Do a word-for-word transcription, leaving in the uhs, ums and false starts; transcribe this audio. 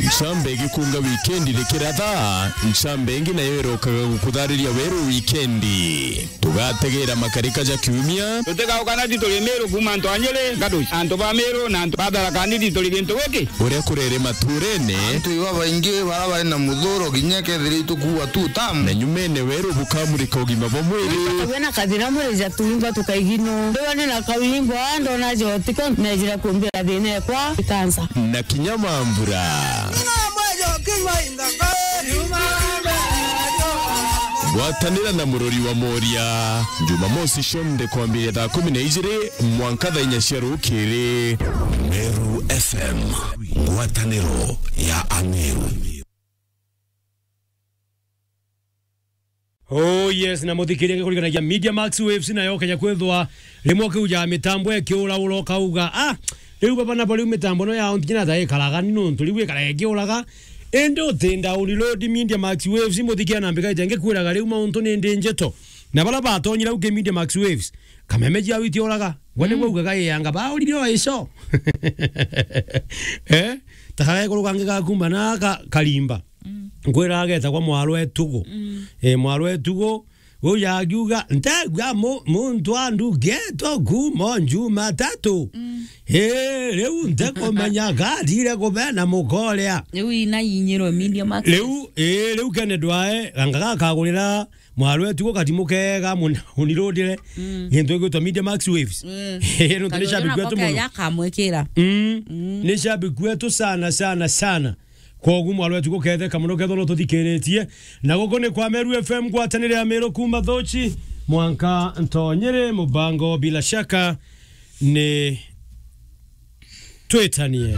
Ncamba igikunga wikendi rikiratha, ncamba ingi nayo irokaga gukuthariria weru wikendi. Tugategera makarika ja kiumia. Tutigaukana ti turi Miru kuuma antu a Nyeri, Gaduci, antu ba Miru na antu ba Tharaka Nithi turi gintu giki. Uria kurere maturene. Antu iba baingi bara bari na muthuro kinya kethira itukuua tu tamu. Na nyumene weru bukamurika ugima bwa mwiri. Tukagua na kathina mwiri ja tuimba tukaigino. Ndiwa ni na kawimbo, ndona jotiko, nejira kumbira thina ekwa, ikansa. Na kinya mambura. Gwatanira na murori wa Moria, Jumamosi cionthe kwambiria thaa kumi na ijiri mwanka thaa inya cia rukiri. Meru F M, ngwataniro ya Ameru. Oh yes, na muthikiria ngikurikanagia Media Max Waves, nayo kenya kwithwa rimwe ukiuja mitambo ikiuraura ukauga, "Ah, riu baba nabo riu mitambo no yao ntinya ta ikaraga ni nontu riu ikaraga ikiuraga." Indi utinda uriload Media Max Waves, muthikiria na mbika ite ngikwiraga riu mauntu ni ndi njeto. Na bara batonyira uki Media Max Waves, kameme jiao itiuraga. Gwe niguo ugaga iyanga baurire o ico. Eh? Takara iguru kangi gakumba na ka-, karimba. Nkwira agetagwa Mwaro Etugu. Eh, Mwaro Etugu, uyu akiuga, "Ntegua mu-, muntu andugetwo kuuma o Jumatatu." Eh, riu ntikumenya gatire kubena mukoria. Riu ina inyirwe Media Max. Riu, eh, riu Kennedy wae, ganga gakagurira Mwaro Etugu katimu kega muno, unirudire. Gintu gigwitwa Media Max Waves. Eh, nontu ni shabiki wetu muno. Yakamwikira. Mm. Ni shabiki wetu sana, sana, sana. Kogu Mwaro Etugu ketheka muno kethwa no tuthikiritie. Na guku ni kwa Meru F M, ngwatanire ya Meru kuuma Thochi mwanka Ntonyere, mubango bila shaka ni Twitanie.